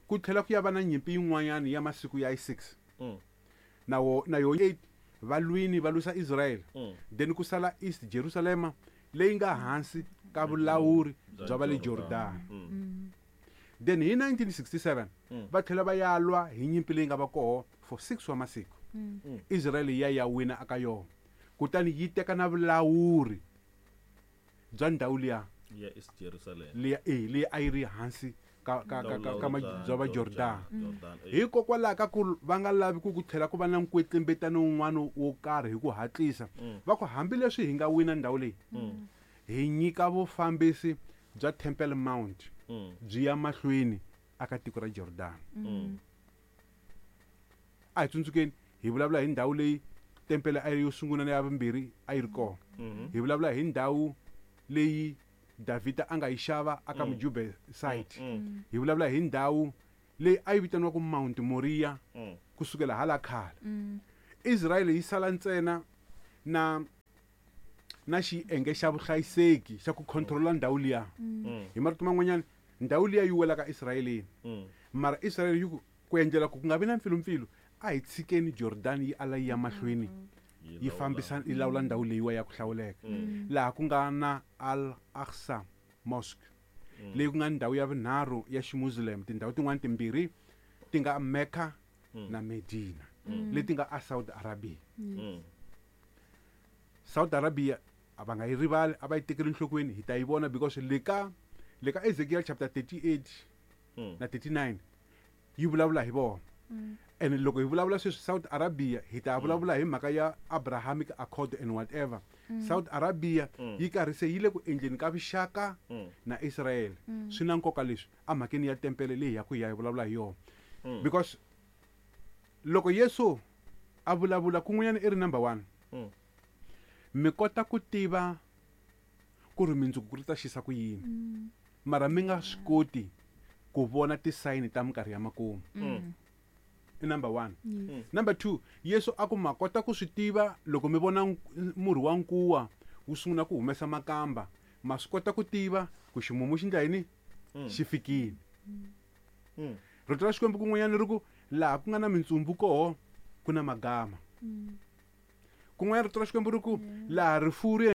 Ku tlhela ku ya va na nyimpi yin'wanyana ya masiku ya 6. Na wo na yo 8 va lwini va lwisa Israel. Then ku sala East Jerusalema leyi nga hansi ka vulawuri bya va le Jordan. Then hi 1967 va tlhela va ya lwa hi nyimpi leyi nga va koho for 6 wa masiku. Israel ya ya wina aka yona. Kutani yi teka na vulawuri bya ndhawu liya ya East Jerusalem liya leyi a yi ri hansi ka ka ka ka, ka bya va Jordan. Jordan. Hikokwalaho ka ku va nga lavi ku ku tlhela ku va na nkwetlembetano wun'wana wo karhi hi ku hatlisa. Va ku hambileswi hi nga wina ndhawu leyi, hi nyika vufambisi bya Temple Mount byi ya mahlweni aka tiko ra Jordan. A hi tsundzukeni hi vulavula hi ndhawu leyi tempele a yi yo sungula na ya vumbirhi a yi ri kona. Hi vulavula hi ndhawu leyi Davhida a nga yi xava aka Mujube site. Hi vulavula hi ndhawu leyi a yi vitaniwaka Mount Moriah kusukela hala khale. Israel yi sala ntsena na xiyenge xa vuhlayiseki xa ku controla ndhawu liya. Hi marito man'wanyana ndhawu liya yi welaka Israeleni. Mara Israel yi ku ku endlela ku ku nga vi na mpfilumpfilu a hi tshikeni Jordan yi ala yi ya mahlweni yi fambisa yi lawula ndhawu leyiwa ya ku hlawuleka. Laha ku nga na Al-Aqsa Mosque leyi ku nga ndhawu ya vunharhu ya Ximuslim. Tindhawu tin'wana timbirhi ti nga Mecca na Medina leti nga a Saudi Arabia. Saudi Arabia a va nga yi rivali, a va yi tekeli enhlokweni, hi ta yi vona because le ka le ka Ezekiel chapter 38 na 39 yi vulavula hi vona. And loko hi vulavula sweswi Saudi Arabia hi ta vulavula hi mhaka ya Abrahamic Accord and whatever. Saudi Arabia yi karhi se yi le ku endleni ka vuxaka na Israel. Swi na nkoka leswi emhakeni ya tempele leyi ya ku ya hi vulavula hi yona. Because loko Yesu a vulavula kun'wanyana i ri number 1. Mi kota ku tiva ku ri mindzuku ku ri ta xisa ku yini. Mara mi nga swi koti ku vona tisayini ta minkarhi ya makumu. I number 1. Number 2, Yesu a ku ma kota ku swi tiva loko mi vona murhi wa nkuwa wu sungula ku humesa makamba, ma swi kota ku tiva ku ximumu xi ndla yini? Xi fikile. Rito ra Xikwembu kun'wanyana ri ku laha ku nga na mintsumbu koho ku na magama. Kun'wanyana rito ra Xikwembu ri ku laha rifuwo ri